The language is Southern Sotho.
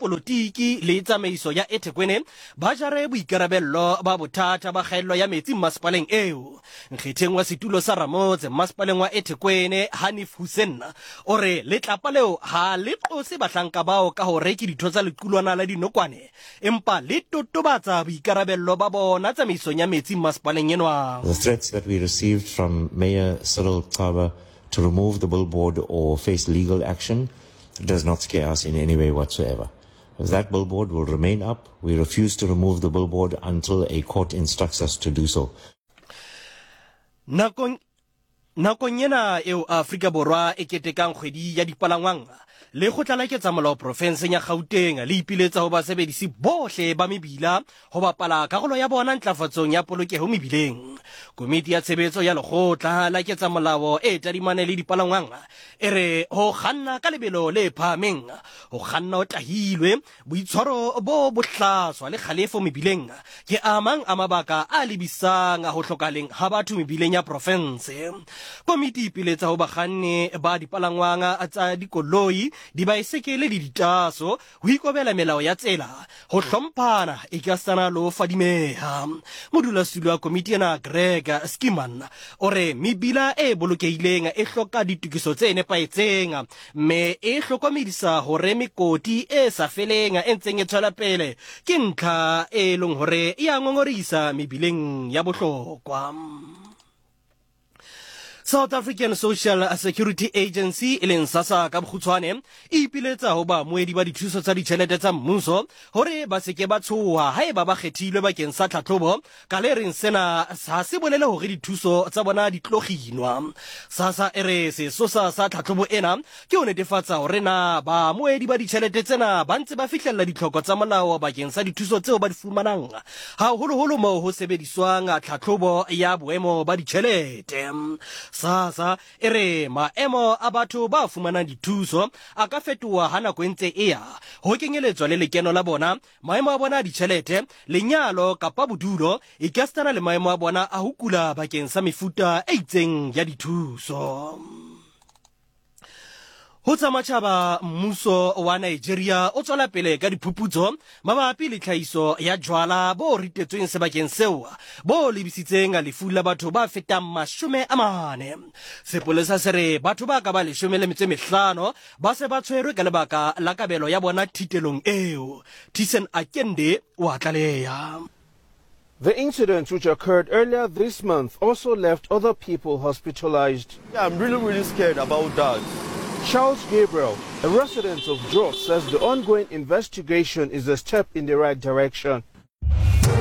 dipolotiki le tsamaiso ya eThekwini ba jare boikarabello ba bothata ba kgaello ya metsi mmasepaleng eo. Nkgetheng wa setulo sa ramotse mmasepaleng wa eThekwini, Hanif Hoosen, o re letlapa leo ha le qose bahlanka bao ka hore ke ditho tsa lequlwana la dinokwane, empa le totobatsa boikarabello ba bona tsamaisong ya metsi mmasepaleng enwa. The threats that we received from Mayor Cyril Xaba to remove the billboard or face legal action does not scare us in any way whatsoever. That billboard will remain up. We refuse to remove the billboard until a court instructs us to do so. Nakong Nakong ena eo Afrika Borwa e ketekang kgwedi ya dipalangwang, Lekgotla la Ketsamolao profenseng ya Gauteng le ipiletsa ho basebedisi bohle ba mebila ho bapala karolo ya bona ntlafatsong ya polokeho mebileng. Komiti ya tshebetso ya Lekgotla la Ketsamolao e tadimane le dipalangwang e re ho kganna ka lebelo le phahameng, ho kganna o tahilwe, Boitshwaro bo bohlaswa le kgalefo mebileng ke a mang a mabaka a lebisang ho hlokahaleng ha batho mebileng ya profense. Komiti e ipiletsa ho bakganni ba dipalangwang tsa dikoloi, dibaesekele le ditaso ho ikobela melao ya tsela, ho hlomphana ekasitana le ho fadimeha. Modulasetulo wa komiti ena Greg Skiman o re mebila e bolokehileng e hloka ditokiso tse nepahetseng mme e hlokomedisa hore mekoti e sa feleng e ntseng e tswela pele ke ntlha e leng hore e a ngongorisa mebileng ya bohlokwa. South African Social Security Agency e leng SASSA ka bokgutshwane e ipiletsa ho baamohedi ba dithuso tsa ditjhelete tsa mmuso hore ba se ke ba tshoha haeba ba kgethilwe bakeng sa tlhatlhobo Ka le reng sena ha se bolele hore dithuso tsa bona di tlo kginwa. SASSA e re sesosa sa tlhatlhobo ena ke ho netefatsa hore na baamohedi ba ditjhelete tsena ba ntse ba fihlella ditlhoko tsa molao bakeng sa dithuso tseo ba di fumanang, haholoholo moo ho sebediswang tlhatlhobo ya boemo ba ditjhelete. SASSA e re maemo a batho ba fumanang dithuso a ka fetoha ha nako e ntse e ya, ho kenyeletswa le lekeno la bona, Maemo a bona a ditšhelete, lenyalo kapa bodulo, ekasitana le maemo a bona a ho kula bakeng sa mefuta e itseng ya dithuso. Ho tsa matjhaba, mmuso wa Nigeria o tswela pele ka diphuputso mabapi le tlhahiso ya jwala bo ritetsweng sebakeng seo bo lebisitseng lefu la batho ba fetang 40. Sepolesa se re batho ba ka ba 15 Ba se ba tshwerwe ka lebaka la kabelo ya bona thitelong eo. Thyssen Akende o a tlaleha. The incident, which occurred earlier this month, also left other people hospitalized. Yeah, I'm really, really scared about that. Charles Gabriel, a resident of Jos, says the ongoing investigation is a step in the right direction.